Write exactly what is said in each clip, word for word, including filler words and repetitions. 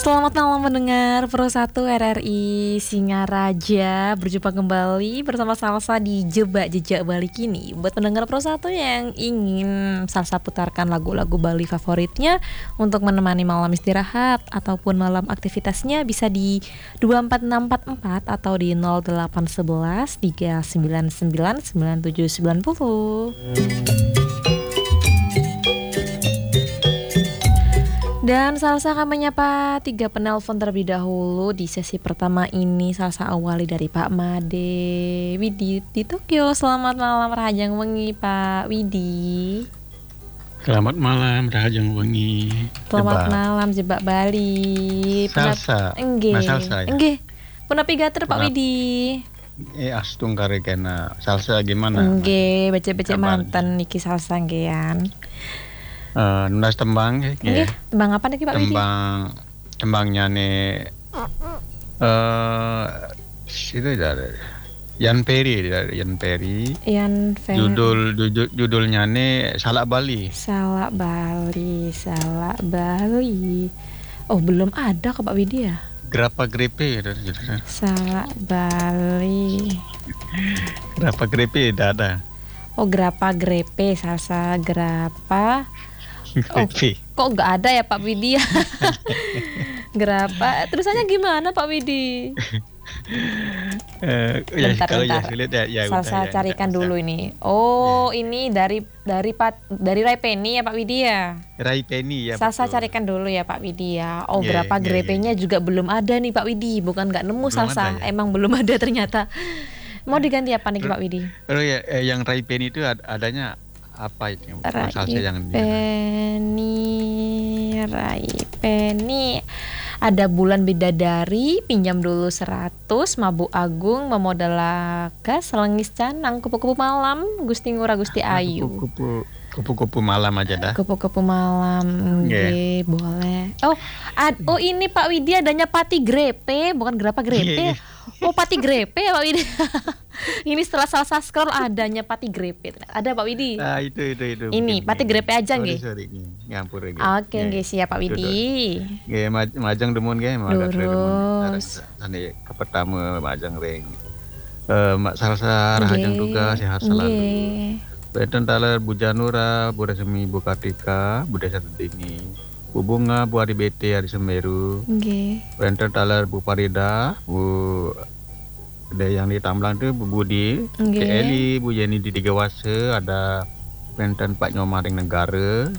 Selamat malam mendengar Pro satu R R I Singaraja. Berjumpa kembali bersama Salsa di Jebak Jejak Bali Kini. Buat pendengar Pro satu yang ingin Salsa putarkan lagu-lagu Bali favoritnya untuk menemani malam istirahat ataupun malam aktivitasnya, bisa di dua empat enam empat empat atau di nol delapan sebelas tiga sembilan sembilan sembilan tujuh sembilan puluh. Dan Salsa akan menyapa tiga penelpon terlebih dahulu di sesi pertama ini. Salsa awali dari Pak Made Widi di Tokyo. Selamat malam, Rahajeng Wengi, Pak Widi. Selamat malam, Rahajeng Wengi. Selamat Jebak. Malam, Jebak Bali. Punap-, Salsa. Enggih. Nah, Salsa, ya? Enggih. Punapi gater, Pak Punap-, Widi? Eh, astungkara kena. Salsa gimana? Enggih, becik-becik kabarnya? Manten niki Salsa, nggih, Yan. Eh, nunas tembang, nggih. Enggih, tembang apa niki, Pak Widi? Tembang, tembangnya nih, eh, itu dari Yan Peri, dari Yan Peri. Yan Peri. Judul, judul, judulnya nih Salak Bali. Salak Bali, Salak Bali. Oh, belum ada kok, Pak Widi, ya? Grapa Grepe, gitu, gitu. Salak Bali. Grapa Grepe, tidak ada. Oh, Grapa Grepe, Salsa Grapa. Oh, Grepe. Kok nggak ada ya, Pak Widi, ya? Grapa. Terusannya gimana, Pak Widi? Eh, ya, bentar, kalau ya bentar. Sulit ya, ya, Salsa ya, carikan ya, dulu ini. Oh, ya. Ini dari, dari Pat-, dari Rai Penny ya, Pak Widi, ya? Rai Penny, ya, Salsa betul. Carikan dulu ya, Pak Widi, ya. Oh, iya, Grapa iya, iya, Grepe-nya iya. Juga belum ada nih, Pak Widi. Bukan nggak nemu, belum Salsa. Ada, ya? Emang belum ada ternyata. Mau diganti apa nih, Pak Widi? Oh, ya, eh, yang Rai Penny itu ad-, adanya apa itu? Rai Salsa yang di Penny, Rai Penny. Ada Bulan Bidadari, Pinjam Dulu Seratus, Mabuk Agung, Memodalaka, Selengis Canang, Kupu-Kupu Malam, Gusti Ngurah, Gusti Ayu. Ah, kupu-kupu, kupu-kupu malam aja dah. Kupu-kupu malam, nggih. Nggih, boleh. Oh, ad-, oh, ini Pak Widi adanya Pati Grepe, bukan Grapa Grepe. Nggih. Oh, Pati Grepe ya, Pak Widi. Ini setelah Salsa scroll adanya Pati Grepe. Ada, Pak Widi? Ah, itu, itu, itu. Ini, mungkin, Pati Grepe aja, sorry, nggih. Sorry, nggih. Ngampur, nggih. Oke, nggih, siap, Pak Widi. Nggih, maj-, majeng dumun, nggih, magat dumun. Lurus. Sane ke pertama majeng ring. Eh, Mak Salsa, rahajeng tugas, sehat selalu. Nggih. Wenten taler Bu Janura, Bu Resmi, Bu Kartika, Bu Desa Tentini, Bu Bunga, Bu Ari B T, Ari Semeru. Nggih. Wenten taler Bu Farida, Bu Ada yang di Tamblang tu, Bu Budi, nggih. Cik Eli, Bu Yeni di Tiga Wasa, ada wenten Pak Nyoman ring Negara,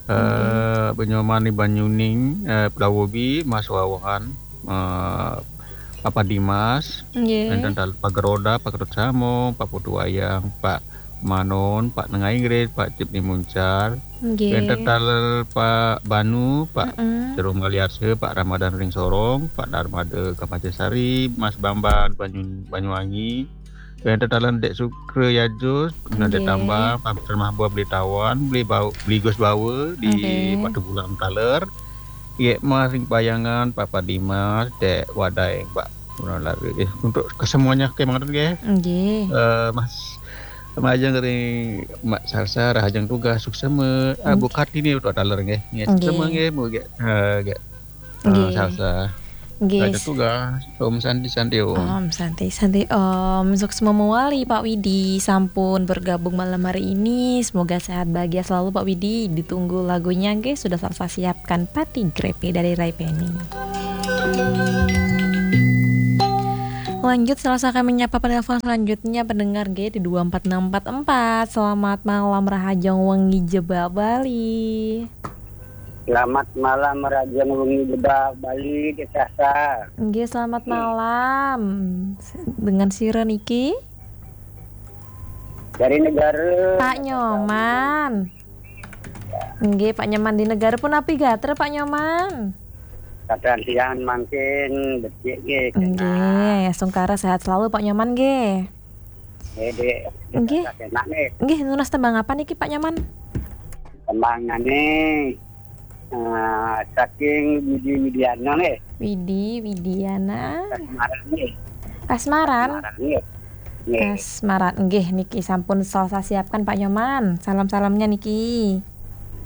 eh, nggih. Bu Nyoman di Banyuning, eh, Pelawobi, Mas Wawan, eh, Papa Dimas, nggih. Wenten taler Pak Geroda, Pak Kerut Samong, Pak Putu Wayang, Pak Manon, Pak Nengah Inggris, Pak Cip di Muncar, nggih. Wenten taler Pak Banu, Pak, mm-mm, Jerome Galiarse, Pak Ramadan ring Sorong, Pak Darmada Kamaja Sari, Mas Bambang Banyu-, Banyuwangi. Wenten taler Dek Sukra Yajus, Dek, nggih. Tambang, Pak Mahbub Beli Tawan, Beli Bau-, Beli Gus Bawa di, nggih. Batu Bulan taler. Yek Mas ring Payangan, Papa Dimas, Dek Wadai, Pak Muralari. Eh, untuk kesemuanya, oke, mangaten, nggih. Nggih. Eh, Mas Majeng ring Mak Salsa, rahajeng tugas, suksema. Ah, nggih. Bu Kartini, Pak Taler, nggih. Nggih, nggih. Suksema, nggih, Bu, nggih. Eh, nggih. Eh, nggih. Salsa. Nggih. Rahajeng tugas. Om Santi, Santi, Om. Om Santi, Santi, Om. Suksema mawali, Pak Widi, sampun bergabung malam hari ini. Semoga sehat bahagia selalu, Pak Widi. Ditunggu lagunya, nggih. Sudah Salsa siapkan Pati Grepe dari Rai Penny. Lanjut, Salsa akan menyapa penelpon selanjutnya, pendengar, nggih, di dua empat enam empat empat. Selamat malam, rahajeng wengi Jebak Bali. Selamat malam, rahajeng wengi Jebak Bali, Dek Salsa. Nggih, selamat malam. Dengan sira niki? Dari Negara. Pak Nyoman. Nggih, Pak Nyoman di Negara punapi gatra, Pak Nyoman? Kadang siang mangkin becik nggih, nggih, enak. Sungkara sehat selalu, Pak Nyoman, nggih. Nggih, Dek. Nggih. Enak nggih. Nggih, nunas tembang apa niki, Pak Nyoman? Tembangane, eh, saking Widi Widiana nggih. Widi Widiana. Kasmaran nggih. Kasmaran? Kasmaran nggih. Nggih. Kasmaran. Nggih, niki sampun Salsa siapkan, Pak Nyoman. Salam-salamnya niki.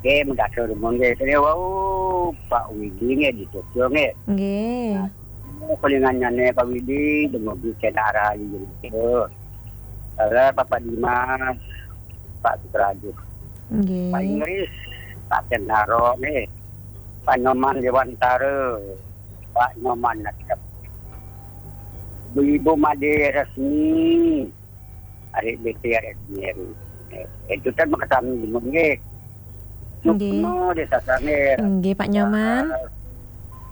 Nggih, mekaten dumun nggih. Sini wau Pak Widi nggih di Tokyo nggih. Nggih. Nah, kelingannya nih Pak Widi, dumugi kena arah itu. Salah Bapak Dimas, Pak Sutradu, Pak Nggih. Inggris, Pak Kentaro nih, Pak Nyoman Dewantara, Pak Nyoman Nasrep. Ibu-ibu Made Resmi, Adik B T Resmi. Eh, Itu kan mekaten dumun nggih. Nggih. Sukma desa Sangir. Nggih, Pak Nyoman.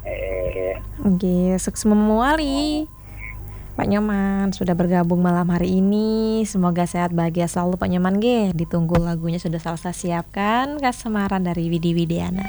Eh, Nggih, suksma mawali. Pak Nyoman sudah bergabung malam hari ini. Semoga sehat bahagia selalu Pak Nyoman nggih. Ditunggu lagunya sudah Salsa siapkan, Kasemaran dari Widi Widiana.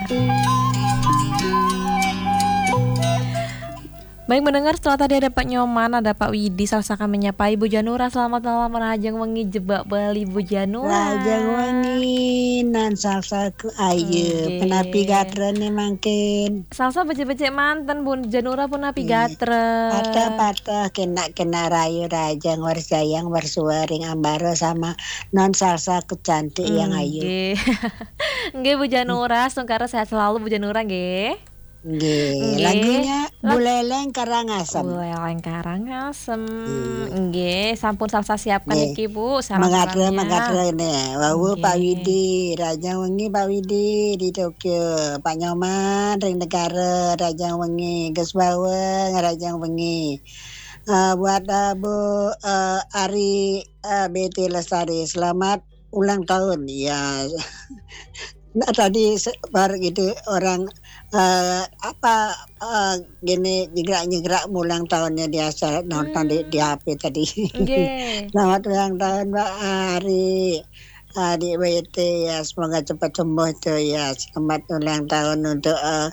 Baik mendengar, setelah tadi ada Pak Nyoman, ada Pak Widi, Salsa kami nyapa Ibu Janura. Selamat malam, rahajeng wengi, jebak Bali Ibu Janura. Rahajeng wengi, nan Salsaku ayu. Nggih. Penapi gatrane mangkin. Salsa becik-becik manten Bu Janura, punapi Iya. gatrem. Patah-patah kena-kena rayu, rahajeng warjayang warsuwa ring ambara sama non Salsaku cantik yang ayu. Nggih. Nggih Bu Janura, sungkara sehat selalu Bu Janura nggih. Nggih. Nggih. Lagunya Lag- Buleleng Karangasem. Buleleng Karangasem. Iya. Nggih, sampun Salsa siapkan Nggih. niki Bu, sarang Mengatra, mengatra ini. Wau Nggih. Pak Widi, rahajeng wengi Pak Widi di Tokyo, Pak Nyoman ring negara, rahajeng wengi, Gus Bawang, rahajeng wengi. Eh, buat eh, Bu eh, Ari eh, B T Lestari, selamat ulang tahun. Ya. Nah, tadi se- baru gitu orang eh, apa eh, gini nyegrak-nyegrak ulang tahunnya biasa nonton di, di H P tadi. Nggih. Selamat ulang tahun Mbak Ari. Adik B T ya, semoga cepat sembuh tuh ya. Selamat ulang tahun untuk eh,